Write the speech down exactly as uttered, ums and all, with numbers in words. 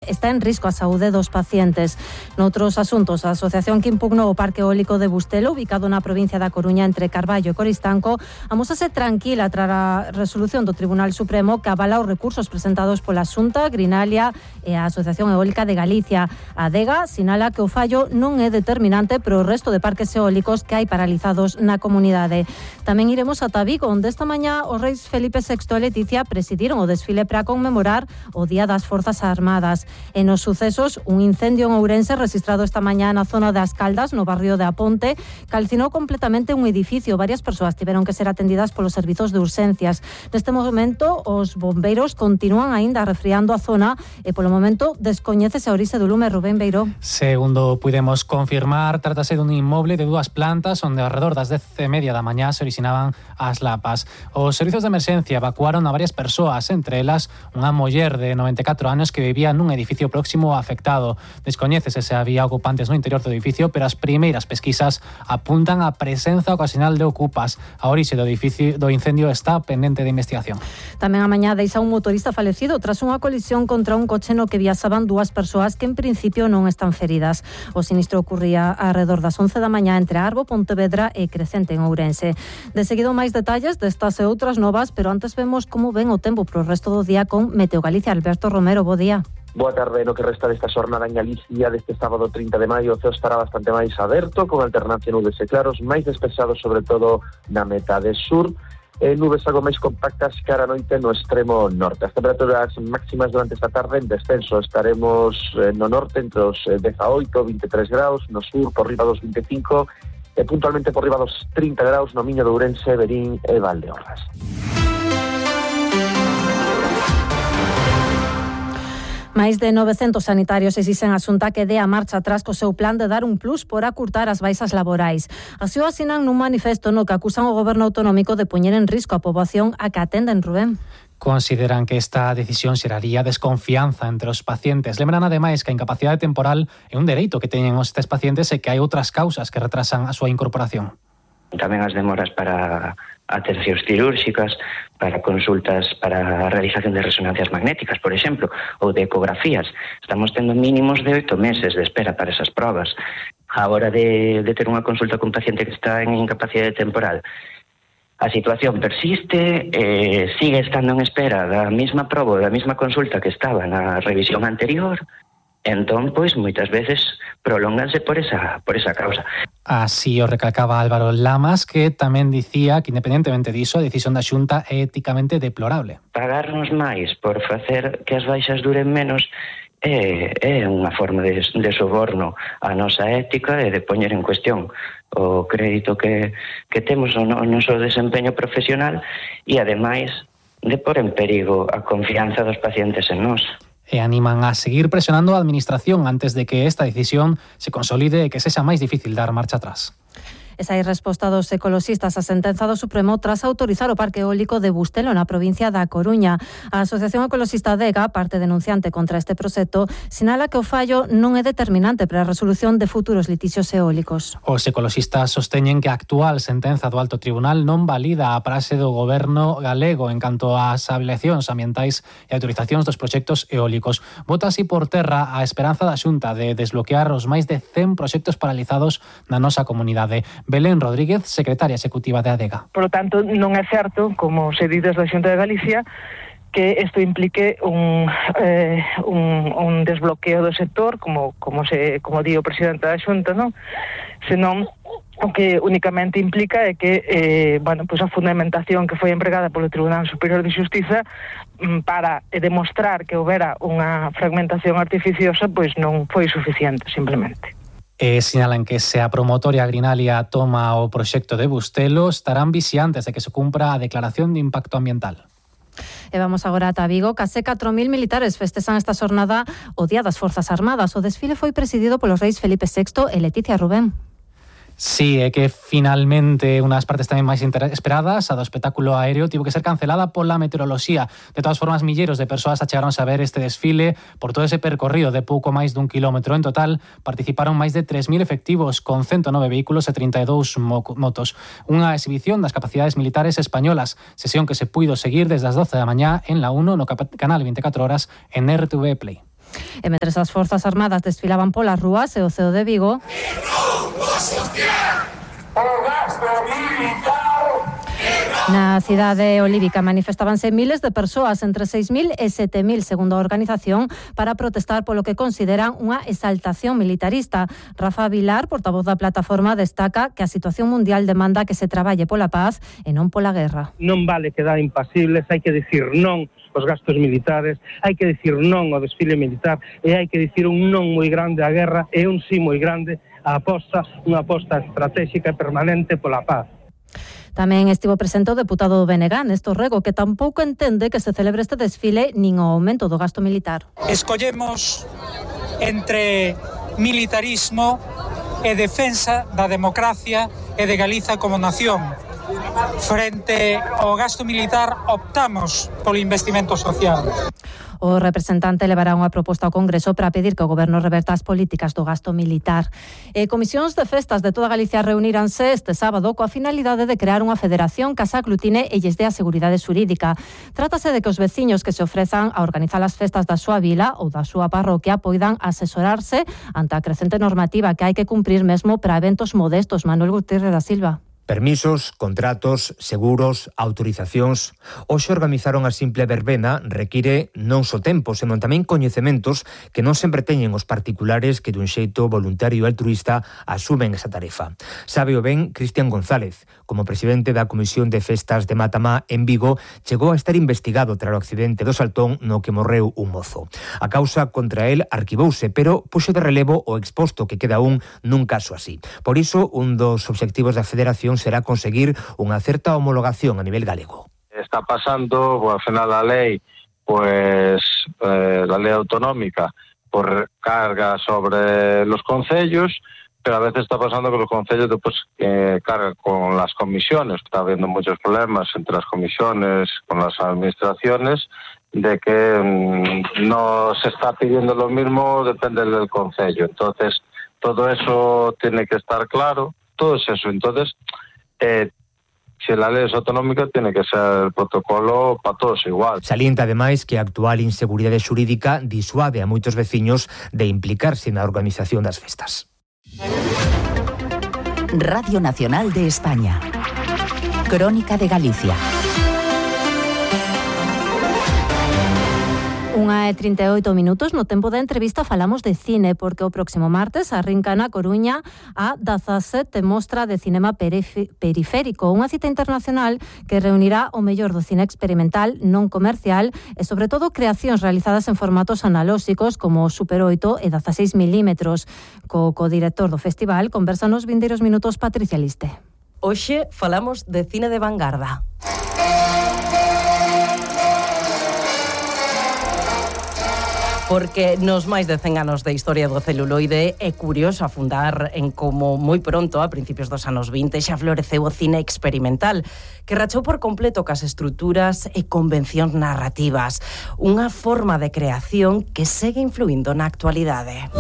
Está en risco a saúde dos pacientes. Noutros asuntos, a asociación que impugnou o Parque Eólico de Bustelo, ubicado na provincia da Coruña entre Carballo e Coristanco, amosase tranquila tras a resolución do Tribunal Supremo que avala os recursos presentados pola Xunta, Grinalia e a Asociación Eólica de Galicia. A Adega sinala que o fallo non é determinante para o resto de parques eólicos que hai paralizados na comunidade. Tamén iremos ata Vigo, onde esta mañá os reis Felipe sexto e Leticia presidiron o desfile para conmemorar o Día das Forzas Armadas. En os sucesos, un incendio en Ourense registrado esta mañá na zona das Caldas, no barrio de Aponte, calcinou completamente un edificio. Varias persoas tiveron que ser atendidas polos servizos de urxencias. Neste momento, os bombeiros continúan aínda refriando a zona e polo momento descoñécese a orixe do lume. Rubén Beiró. Segundo pudemos confirmar, trátase dun inmoble de dúas plantas onde ao redor das dez e media da mañá se orixinaban as lapas. Os servizos de emerxencia evacuaron a varias persoas, entre elas unha muller de noventa e catro anos que vivía nun edificio próximo afectado. Descoñécese se había ocupantes no interior do edificio, pero as primeiras pesquisas apuntan a presenza ocasional de ocupas. A orixe do edificio do incendio está pendente de investigación. Tamén a mañá deixa un motorista falecido tras unha colisión contra un coche no que viaxaban dúas persoas que en principio non están feridas. O sinistro ocurría arredor das once da mañá entre Arbo, Pontevedra e Crecente en Ourense. De seguido máis detalles destas e outras novas, pero antes vemos como ven o tempo pro resto do día con Meteo Galicia. Alberto Romero, bo día. Boa tarde. No que resta desta xornada en Galicia deste sábado trinta de maio, o ceo estará bastante máis aberto, con alternancia nubes e claros, máis despexados sobre todo na metade sur, e nubes algo máis compactas cara a noite no extremo norte. As temperaturas máximas durante esta tarde en descenso, estaremos no norte entre os dezaoito, vinte e tres graus, no sur por riba dos vinte e cinco e puntualmente por riba dos trinta graus no Miño de Ourense, Verín e Valdeorras. Máis de novecentos sanitarios exixen a Xunta que dé a marcha atrás co seu plan de dar un plus por acurtar as baixas laborais. Así o asinan nun manifesto no que acusan o goberno autonómico de poñer en risco a poboación a que atenden. Rubén. Consideran que esta decisión xeraría desconfianza entre os pacientes. Lembran ademais que a incapacidade temporal é un dereito que teñen estes pacientes e que hai outras causas que retrasan a súa incorporación. Tamén as demoras para atencións cirúrxicas, para consultas para a realización de resonancias magnéticas, por exemplo, ou de ecografías. Estamos tendo mínimos de oito meses de espera para esas probas. A hora de, de ter unha consulta con un paciente que está en incapacidade temporal, a situación persiste, eh, sigue estando en espera da mesma proba, da mesma consulta que estaba na revisión anterior. Entón, pois, moitas veces prolónganse por esa, por esa causa. Así o recalcaba Álvaro Lamas, que tamén dicía que, independentemente diso, a decisión da Xunta é éticamente deplorable. Pagarnos máis por facer que as baixas duren menos é, é unha forma de, de soborno á nosa ética e de poñer en cuestión o crédito que, que temos o, no, o noso desempeño profesional e, ademais, de pôr en perigo a confianza dos pacientes en nós. E animan a seguir presionando a administración antes de que esta decisión se consolide e que sexa máis difícil dar marcha atrás. Esa é resposta dos ecoloxistas á sentenza do Supremo tras autorizar o Parque Eólico de Bustelo na provincia da Coruña. A Asociación Ecoloxista Adega, parte denunciante contra este proxecto, sinala que o fallo non é determinante para a resolución de futuros litixios eólicos. Os ecoloxistas sosteñen que a actual sentenza do Alto Tribunal non valida a praxe do goberno galego en canto ás avaliacións ambientais e autorizacións dos proxectos eólicos. Bota así por terra a esperanza da Xunta de desbloquear os máis de cen proxectos paralizados na nosa comunidade. Belén Rodríguez, secretaria executiva de Adega. Por lo tanto, non é certo, como se di desde a Xunta de Galicia, que isto implique un, eh, un, un desbloqueo do sector, como, como, se, como di o presidente da Xunta, non? Senón, o que únicamente implica é que eh, bueno, pues a fundamentación que foi empregada polo Tribunal Superior de Xustiza para demostrar que houbera unha fragmentación artificiosa, pois non foi suficiente, simplemente. E sinalan que se a promotoria Grinalia toma o proxecto de Bustelo, estarán vixiantes de que se cumpra a declaración de impacto ambiental. E vamos agora ata Vigo. Case catro mil militares festexan esta xornada o Día das Forzas Armadas. O desfile foi presidido polos reis Felipe sexto e Leticia. Rubén. Sí, é que finalmente unhas partes tamén máis esperadas, a do espectáculo aéreo, tivo que ser cancelada pola meteoroloxía. De todas formas, milleiros de persoas achegaronse a ver este desfile por todo ese percorrido de pouco máis dun kilómetro. En total, participaron máis de tres mil efectivos con ciento nove vehículos e trinta e dous motos. Unha exhibición das capacidades militares españolas, sesión que se puido seguir desde as doce da mañá en la uno no canal veinticuatro horas en R T V Play. E mentres as Forzas Armadas desfilaban polas rúas e o C E O de Vigo, na cidade olívica manifestábanse miles de persoas, entre seis mil e sete mil, segundo a organización, para protestar polo que consideran unha exaltación militarista. Rafa Vilar, portavoz da plataforma, destaca que a situación mundial demanda que se traballe pola paz e non pola guerra. Non vale quedar impasibles, hai que dicir non aos gastos militares, hai que dicir non ao desfile militar e hai que dicir un non moi grande á guerra e un sí moi grande á aposta, unha aposta estratégica e permanente pola paz. Tamén estivo presente o deputado do B N G, Néstor Rego, que tampouco entende que se celebre este desfile nin o aumento do gasto militar. Escollemos entre militarismo e defensa da democracia e de Galiza como nación. Frente ao gasto militar optamos polo investimento social. O representante levará unha proposta ao Congreso para pedir que o Goberno reverta as políticas do gasto militar. E comisións de festas de toda Galicia reuniranse este sábado coa finalidade de crear unha federación que se aglutine e lles dé a seguridade xurídica. Trátase de que os veciños que se ofrezan a organizar as festas da súa vila ou da súa parroquia poidan asesorarse ante a crecente normativa que hai que cumprir mesmo para eventos modestos. Manuel Gutiérrez da Silva. Permisos, contratos, seguros, autorizacións. Hoxe organizaron a simple verbena require non só tempo, senón tamén coñecementos que non sempre teñen os particulares que dun xeito voluntario e altruista asumen esa tarefa. Sabe o ben Cristian González, como presidente da Comisión de Festas de Matamá en Vigo, chegou a estar investigado tras o accidente do Saltón no que morreu un mozo. A causa contra el arquivouse, pero puxo de relevo o exposto que queda un nun caso así. Por iso, un dos obxectivos da Federación será conseguir unha certa homologación a nivel galego. Está pasando, pues, al final la lei, pues eh, la lei autonómica, por carga sobre los concellos, pero a veces está pasando que los concellos después eh, cargan con las comisiones. Está habiendo muchos problemas entre las comisiones, con las administraciones, de que mmm, no se está pidiendo lo mismo, depende del concello. Entonces, todo eso tiene que estar claro, todo es eso. Entonces, Eh, se la lei é autonómica, tiene que ser el protocolo para todos igual. Salienta ademais que a actual inseguridade xurídica disuade a moitos veciños de implicarse na organización das festas. Radio Nacional de España. Crónica de Galicia. Unha e trinta e oito minutos. No tempo da entrevista falamos de cine, porque o próximo martes arrinca na Coruña a dezasete mostra de cinema periférico, unha cita internacional que reunirá o mellor do cine experimental non comercial e sobre todo creacións realizadas en formatos analóxicos como Super oito e dezaseis milímetros. Co codirector do festival conversa nos vindeiros minutos Patricia Liste. Hoxe falamos de cine de vanguarda. Porque nos máis de cen anos de historia do celuloide é curioso afundar en como moi pronto, a principios dos anos vinte, xa floreceu o cine experimental, que rachou por completo cas estruturas e convencións narrativas, unha forma de creación que segue influindo na actualidade.